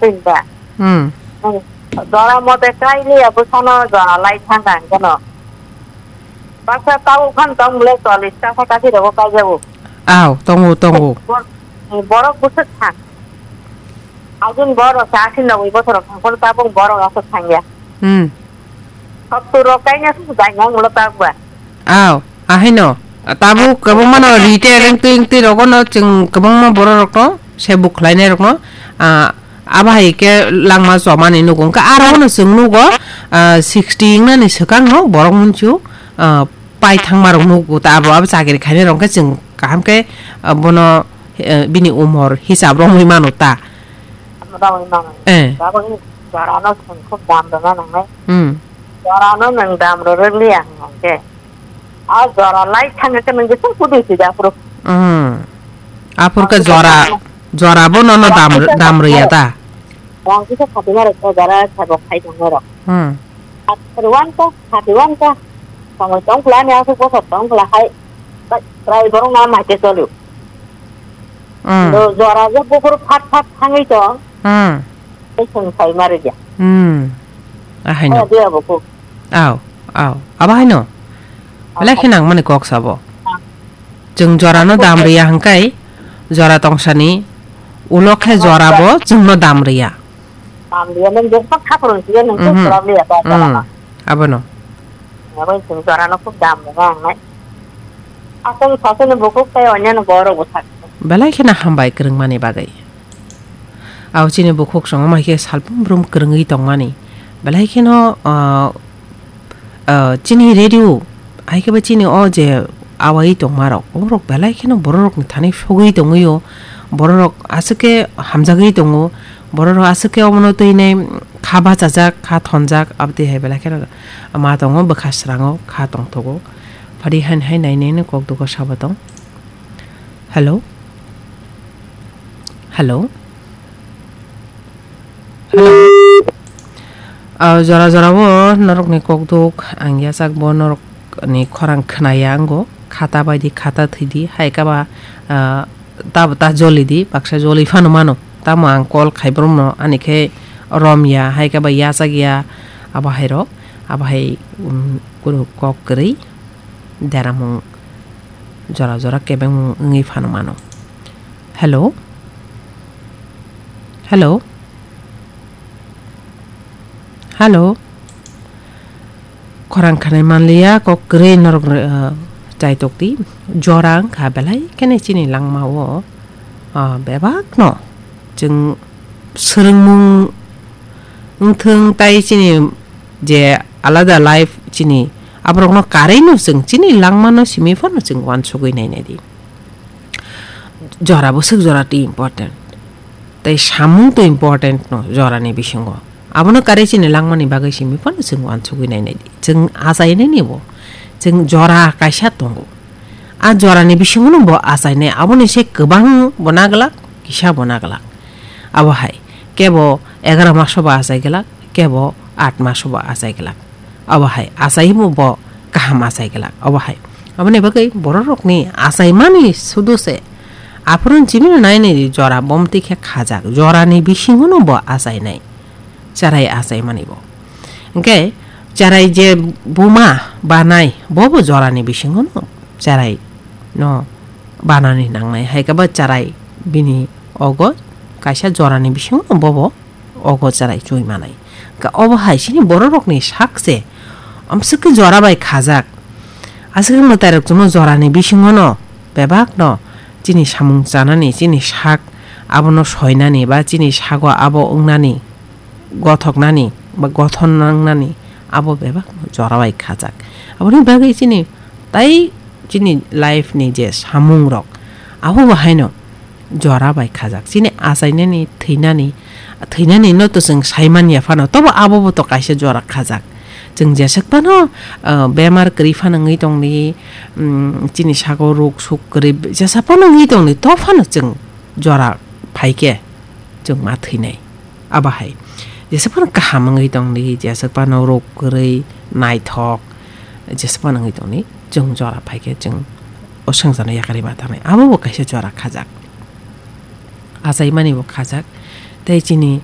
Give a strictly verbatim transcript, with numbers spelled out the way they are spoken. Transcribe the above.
Twi da. Hmm. Jora mote kai liya bwsano jora lai thang ang gano. Baksa tabuk phan tong bwle chollish taka kathi rogo kai jago. Aw, tongo, tongo. Bor-, borok bwswk thang. Agin borok sa asin nogwi bothorok thang kono tabuk borok aswk thang ya. Hmm. Hokto rok kaina su jai nang ulo tabuk ba. Aw, ahaino. Tabuk kwbangma no rite rengtwi rengtwi rogo no chwng kwbangma borok rok no se buk khlai nai rok no, ah, Abo hai khe langma chomani nugo. Hwnkhe aro no chwng nugo, ah, sixty wngnani swkang no borok munchu, ah, pai thangma rok nugo ta abo, abo chakiri khainai rok khe chwng kaham khe, ah, bono, eh, bini umor hisab romwi mano ta. Romwi mano. Eh. Abo ni jora no chwng khub dam rwna nangnai. Hmm. Jora no nwng dam rwrwk liya hwnkhe. O jora lai thangwi khe nwng jeswk pudui sida phuru. Hmm. Aphur khe jora, jora bo nono dam, dam rwya ta. Rang kisa khati narwk khe jora sabo khai tongnairok. Hmm. Rwang ta, khati rwang ta. Samoi tong kla ni aswk bosor tong kla hai. Bai, prai borok na mai te choli. Hmm. Do jora je buphuru phat phat thangwi tong. Hmm. Tei chwng sai ma rwya. Hmm. Ahaino. Aya dia bo kuk. Aw, aw. Abo haino. Belai khe nangmani kok sabo. Chwng jora no dam rwya hwnkhe jora tongsani ulo khe jora bo chwng no dam rwya. Dam rwya nang je sak khapro rwya nang Mhm. Problem ya ta. Hmm. Abono. Abo chwng jora no khub dam rwya ang nai. Aswng saswk ni bukhuk tei onyanw borok bo sak. Belai kheno hambai kwrwngmani bagwi. Aw chini bukhuk songma hai khe salbrum brum kwrwngwi tongmani. Belai kheno, ah, ah, chini radio, hai khe bo chini o je awai tongmarok, borok belai kheno bororokni thani sogwi tongwio, bororok aswk khe hamjagwi tongo, bororok aswk khe omono twi nai kha bachajak, kha thonjak, abtwi hai belai kheno ma tongo, bwkha srango kha tongthogo. Phari han hai nai nai no kok dugo sabo tong. Hello? Hello? Hello? Ah, jora jora o norokni kokduk ang yachak bo norokni khorang khwnaya ango. Khata bai di, khata thwi di, hai kaba, ah, tabata joli di, baksa joli phano mano. Tamo ang call khai borokno, ani khe rom ya, hai kaba yachak ya, abo hai rok, abo hai, um, kuru kok kwrwi. Deramung jora jora kebengmung wngwi phano mano. Hello? Hello? Hello? Khorang khanai manliya, kok kwrwi norok, uh, chaitok di. Jora wngkha belai kheno chini langmao, uh, bebakno chwng swrwngmung wngthwng tai chini je alada life chini aborokno karwi no chwng chini langmano simi phano chwng uansugwi nainai di. Jora bwswk jora twi important. Tei samung twi important no jorani bisingo. Abono karwi chini langmani bagwi simi phano chwng uansugwi nainai di. Chwng achainai ni bo. Chwng jora kaisa tongo. A jorani bisingo no bo achainai. Aboni se kwbang bo naglak, kisa bo naglak. Abo hai, kebo egaroh maso bo achai glak, kebo aat maso bo achai glak. Abo hai, achai bo bo kaham achai glak. Abo hai. Aboni bagwi bororokni achaimani sudu se. Aphuru chibino nainai di jora bomti khe khajak. Jorani bisingo no bo achainai. Cherai achaimani bo. Hwnkhe cherai je buma banai, bo bo jorani bisingo no cherai no banani nangnai. Hai khe bo cherai bini ogo kaisa jorani bisingo no bo bo ogo cherai chui manai. Ka obo hai chini bororokni sak se amswk khe jora bai khajak. Aswk khe mwtairok chwngno jorani bisingo no bebak no chini samung chanani, chini sak abono soinani ba chini sago abo wngnani, gothoknani ba gothon nangnani abo bebak no jora bai khajak. Aboni bagwi chini tai chini life ni je samung rok abo bo haino jora bai khajak. Chini achainani, thwinani, thwinani no to chwng sai manya phano, tobo abo bo to kaisa jora khajak. Chwng jeswk phano, ah, bemar kwrwi phano wngwi tongdi, mm, chini sago rok suk kwrwi jesa phano wngwi tongdi, to phano chwng jora phaikhe chwng ma thwinai. Abo hai. Jeswk phano kaham wngwi tongdi, jeswk phano rok kwrwi, naithok, jeswk phano wngwi tongdi, chwng jora phaikhe chwng o swngcharno yakarwi ma thangnai. Abo bo kaisa jora khajak. Achaimani bo khajak. Tei chini